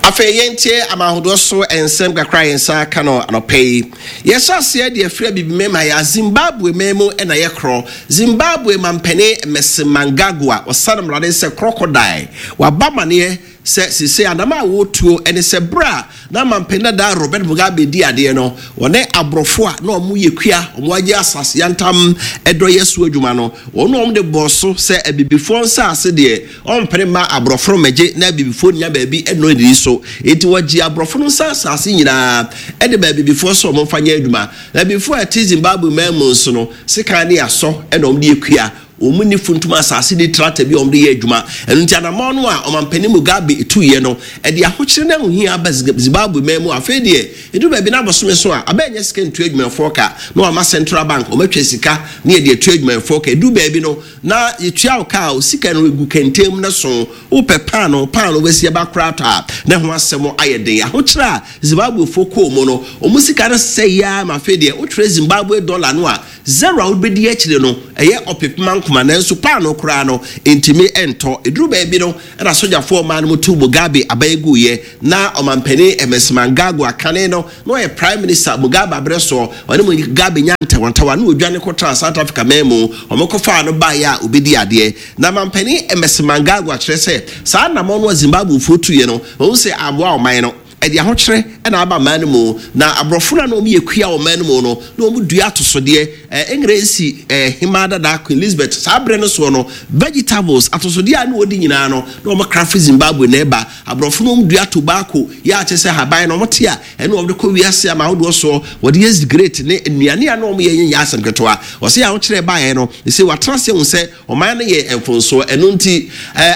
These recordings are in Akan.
Afei yɛntie amanhodoɔ so nsɛm kakra a yɛn nsa aka no anɔpa yi. Yɛhyɛ aseɛ de afiri Abibimem ha yɛ Zimbabwe man mu na yɛkorɔ. Zimbabwe mampanin Emmerson Mnangagwa ɔsane mmrane sɛ crocodile. Waba amaneɛ sɛ seesei anam a wɔretuo ne sɛ berɛ a na mampanin dada Robert Mugabe di adeɛ no, wɔne aborɔfo a na wɔyɛ kua, wɔagye asase yantam dɔ yɛ so adwuma no, wɔn na wɔde bɔɔ so sɛ abibifoɔ nsase deɛ Ɔmpene mma aborɔfo no mmɛgye na abibifoɔ nnya baabi nnɔ nnidi so. Enti wɔgyee aborɔfo no nsa asase nyinaa de maa abibifoɔ sɛ wɔmfa nyɛ adwuma. Na abibifoɔ a ɛte Zimbabwe man mu nso no, sekan ne asɔ na wɔde yɛ kua. Wɔn nni funtum asase nni tractor bi a wɔde yɛ adwuma. Ɛno nti anammɔn no a Ɔmampanin Mugabe tuiɛ no, ɛde ahokyere ne ahohia aba Zimbabwe man mu. Afei deɛ, ɛduru baabi na abosome so a, aba nnya sika ntua adwumayɛfoɔ ka, na wɔama Central Bank wɔatwa sika na yɛde atua adwumayɛfoɔ ka. Ɛduru baabi no, Na yɛtua wo ka a, wo sika no gu kɛntɛn mu na so wopɛ paanoo, paanoo bɛsi aba koraa tɔ a, na ɛho asɛm ayɛ den. Ahokyerɛ a Zimbabwefoɔ kɔɔ mu no, wɔn sika no sɛeɛ ara ma afei deɛ wotwerɛ Zimbabwe dɔla no a, zero a wobɛdi akyire no, ɛyɛ ɔpepem ankoma, nanso paanoo koraa no, ɛntumi ntɔ. Ɛduru baabi no, ɛna sogyafoɔ ɔman no mu tuu Mugabe aban guiɛ. Na Ɔmanpanin Emmerson Mnangagwa kane no, na ɔyɛ Prime Minister Mugabe aberɛ soɔ. Ɔne Mugabe nyaa ntawantawa na ɔdwane kɔtraa South Africa man mu. Wɔkɔfaa no baeɛ a ɔbɛdii adeɛ. Na Manpanin Emmerson Mnangagwa kyerɛ sɛ saa anammɔn no a Zimbabwefoɔ tuiɛ no, wɔahu sɛ ammoa ɔman no. Ɛde ahokyerɛ na aba man no mu. Na aborɔfo no a na wɔyɛ kua wɔ man no mu no, na wɔdua atosodeɛ. Engiresi hemaa dada Queen Elizabeth saa berɛ no soɔ no, vegetables, atosodeɛ a na wɔdi nyinaa no, na wɔkra firi Zimbabwe na ɛba. Aborɔfo no wɔdua tobacco, yɛ a kyerɛ sɛ haban no wɔte a ɛne wɔde kɔ wiase ama ahodoɔ soɔ, wɔde yɛ cigarette ne nnuane a na wɔyɛ nyɛ asɛm ketewa. Ɔse ahokyerɛ baeɛ no, ɛsei wɔatena ase ahu sɛ ɔman no yɛ mfomsoɔ. Ɛno nti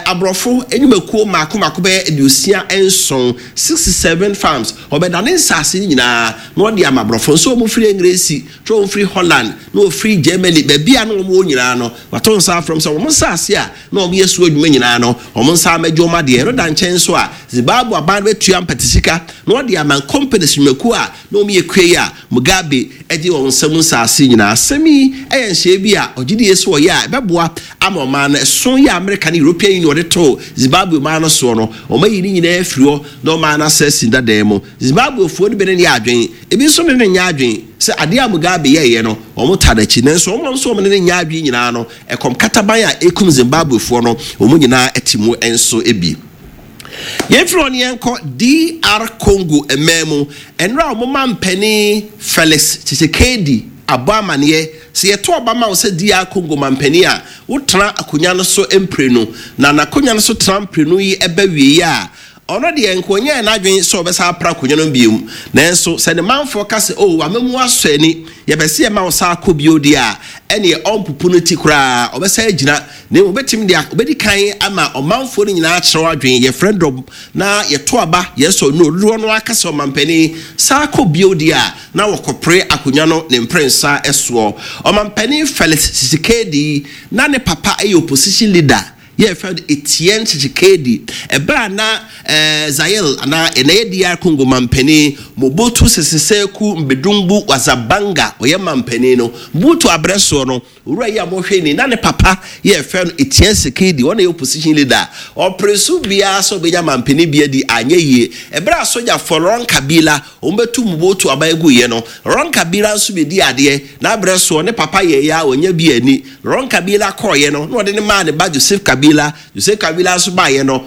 aborɔfo nnwumakuo mmaako mmaako bɛyɛ 67, 67 farms, wɔbɛdane nsaase no nyinaa na wɔde ama aborɔfo. Nso wɔfiri Engiresi, nso wɔfiri Holland, na wɔfiri Germany, baabi a na wɔwɔ nyinaa no, wɔato nsa afrɛ wɔn sɛ wɔn nsaase a na wɔyɛ so adwuma nyinaa no, wɔn nsa ammɛgye wɔn adeɛ. Ɛno da nkyɛn nso a, Zimbabwe aban no bɛtua mpɛte sika na wɔde ama companies nnwumakuo a na wɔyɛ kua yi a Mugabe gye wɔn nsam nsaase nyinaa. Asɛm yi yɛ nhyehyɛeɛ bi a ɔgye die sɛ wɔyɛ a ɛbɛboa ama ɔman no. Ɛso yi a Amerika ne European Union de too Zimbabwe man no soɔ no, wɔayi ne nyinaa afiri hɔ na ɔman no asɛ asi dadaa mu. Zimbabwefoɔ no bi ne no yɛ adwene, ebi nso ne no nyɛ adwene sɛ adeɛ a Mugabe yɛeɛ no, wɔtaa n'akyi. Nanso wɔn a nso wɔne no nyɛ adwene nyinaa no, Ɛkɔm kataban a ɛrekum Zimbabwefoɔ no, wɔn nyinaa te mu nso bi. Yɛmfiri hɔ no yɛnkɔ DR Congo man mu. Nnora a wɔn mampanin Felix Tshisekedi abɔ amaneɛ sɛ yɛto aba ma wo sɛ DR Congo mampanin a, wotena akonnwa no so mprenu. Na n'akonnwa no so tena mprenu yi ba wieeɛ a, Ɔno deɛ, nka ɔnyɛɛ n'adwene sɛ ɔbɛsan apra akonnwa no bio. Nanso sɛ ne manfoɔ ka sɛ, 'O, w'amammuo asɔ ani, yɛpɛ sɛ yɛma wo san kɔ bio deɛ a, ɛnneɛ ɔrempopo ne ti koraa, ɔbɛsan agyina. Na mmom ɔbɛtumi de, ɔbɛdi kan ama ɔmanfoɔ no nyinaa akyerɛ wɔn adwene, yɛfrɛ dɔm na yɛto aba, yɛsɔ no, dodoɔ no ara ka sɛ, 'Ɔmampanin, san kɔ bio' deɛ a, na wɔkɔpere akonnwa no ne mprɛnsa soɔ. Ɔmampanin Felix Tshisekedi, na ne papa yɛ opposition leader. Yɛfrɛ no Etienne Tshisekedi. Ɛberɛ a na Zaire anaa ɛnɛ yɛ DR Congo mampanin Mobutu Sese Seko Mbedumbu Wazabanga ɔyɛ mampanin no, Mobutu aberɛ soɔ no, owura yi a mohwɛ ni, na ne papa yɛfrɛ no Etienne Tshisekedi, ɔno na ɛyɛ opposition leader. Ɔpere so biara sɛ ɔbɛnya mampanin bi adi, anyɛ yie. Ɛberɛ a sogyafoɔ Laurent Kabila wɔbɛtu Mobutu aban guiɛ no, Laurent Kabila nso bɛdii adeɛ. N'aberɛ soɔ, ne papa yɛeɛ a ɔnya bi anni. Laurent Kabila kɔeɛ no, na ɔde no maa ne ba Joseph Kabila. Joseph Kabila nso baeɛ no,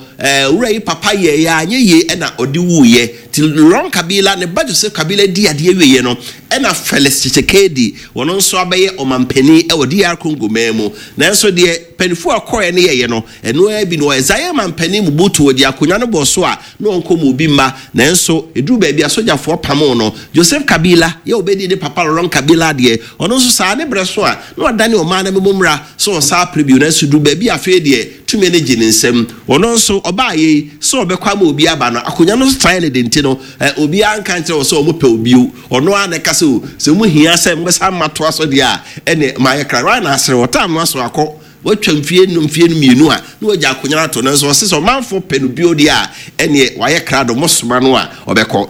owura yi papa yɛeɛ a anyɛ yie na ɔde wuiɛ. Nti Laurent Kabila, ne ba Joseph Kabila dii adeɛ wieeɛ no, ɛna Felix Tshisekedi, ɔno nso abɛyɛ ɔmanpanin wɔ DR Congo man mu. Nanso deɛ mpaninfoɔ a wɔkɔeɛ no yɛeɛ no, ɛno ara bi na wɔyɛ. Zaire manpanin Mobutu, ɔgye akonnwa no bɔɔ so a na ɔnkɔ mu obi mma. Nanso ɛduruu baabi a sogyafoɔ pamoo no. Joseph Kabila, yɛ a ɔbɛdii ne papa Laurent Kabila adeɛ, ɔno nso saa ne berɛ so a na wadane ɔman no amammuo mmara sɛ ɔsan apere bio. Nanso ɛduruu baabi a afei deɛ tumi no gye ne nsam. Ɔno nso ɔbaeɛ yi, sɛ ɔbɛkɔ ama obi aba no, akonnwa no so traeɛ no de nti no, obiara nka nkyerɛ wɔ sɛ wɔpɛ wo bio. Ɔno ara na ɛka sɛ, O, sɛ mohia sɛ mobɛsan matoa so deɛ a, ɛnneɛ mayɛ krado. Ayɛ no asere, ɔtaa no aso akɔ. Watwa mfeɛ nnum, mfeɛ mmienu a na wagya akonnwa no ato, nanso ɔse sɛ ɔmanfoɔ pɛ no bio deɛ a, ɛneɛ wayɛ krado, mosoma no a ɔbɛkɔ.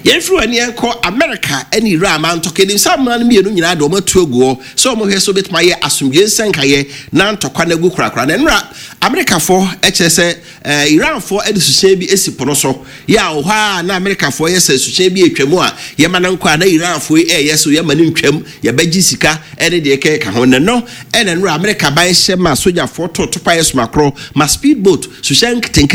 Yɛmfiri wɔ ani yɛnkɔ America ne Iran ma ntɔkwa. Nim sɛ amena no mmienu nyinaa de wɔn atu agu hɔ sɛ wɔn hwɛ sɛ wɔbɛtumi ayɛ asomdwe nsɛnkaeɛ na ntɔkwa no agu korakora. Na nnora Amerikafoɔ kyerɛ sɛ Iranfoɔ de suhyɛn bi asi po no so yɛ a wɔ hɔ a na Amerikafoɔ yɛ sɛ suhyɛn bi atwa mu a yɛma no nkɔ a, na Iranfoɔ yi ɛyɛ so yɛma no ntwam, yɛbɛgye sika ne deɛ ɛkɛka ho. Na no ɛna nnora Amerika ban hyɛ ma sogyafoɔ to topa yɛ somakorɔ ma speed boat suhyɛn nketenkete.